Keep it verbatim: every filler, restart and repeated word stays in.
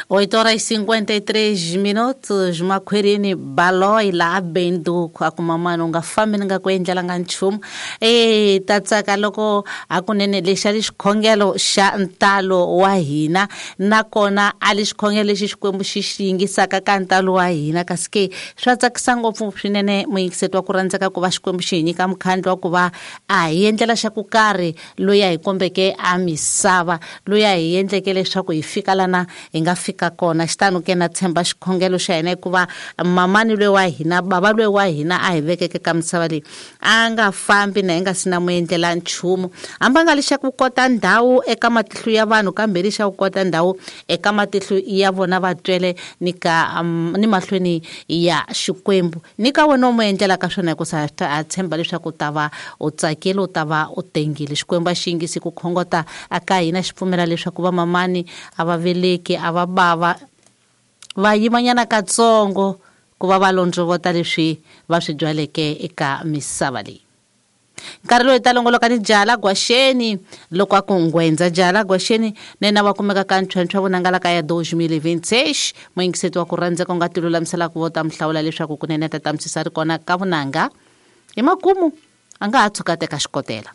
oito horas e cinquenta e três minutos makhwerini baloi la benduku a ku mamani u nga fambi ni nga ku endlelanga nchumu e ta tsaka loko hakunene lexi a li xikhongelo xa ntalo wa hina nakona a li xikhongelo lexi Xikwembu xi xi yingisaka ka ntalo wa hina kasi ke swa tsakisa ngopfu swinene muyingiseti wa ku rhandzeka ku va Xikwembu xi hi nyika mukhandlu wa ku va a hi endlela xa ku karhi loyi a hi kombeke a misava loyi a hi endleke leswaku hi fika lana hi nga fika kona xitano ke na tshemba xikhongelo xa hina hikuva mamani loyi wa hina bava loyi wa hina a hi vekeke ka misava leyi a nga fambi na hi nga si na mu endlela nchumu hambi a nga li xa ku kota ndhawu eka matihlo ya vanhu kambe li xa ku kota ndhawu eka matihlo ya vona vatswele ni ka um, ni mahlweni ya Xikwembu ni ka wena u mu endlela ka swona hikusa a tshemba leswaku u ta va u tsakile u ta va u tengile Xikwembu a xi yingisi ku khongota aka hina xi pfumela leswaku vamamani a va veleki a va bava va yimanyana katsongo ku va va londzovota leswi va swi byaleke eka misava leyi nkarhi lowu hi ta longoloka ni jala gwaxeni loko a ku nghwendza jala gwaxeni na yena va kumeka ka ntlhontlho vonangala ka ya dois mil e vinte e seis muyingiseti wa ku rhandzeka u nga ti lulamiselaka vo ta mi hlawula leswaku kunene ta tamisisa ri kona ka vunanga hi makumu a nga ha tshuka teka xikotela.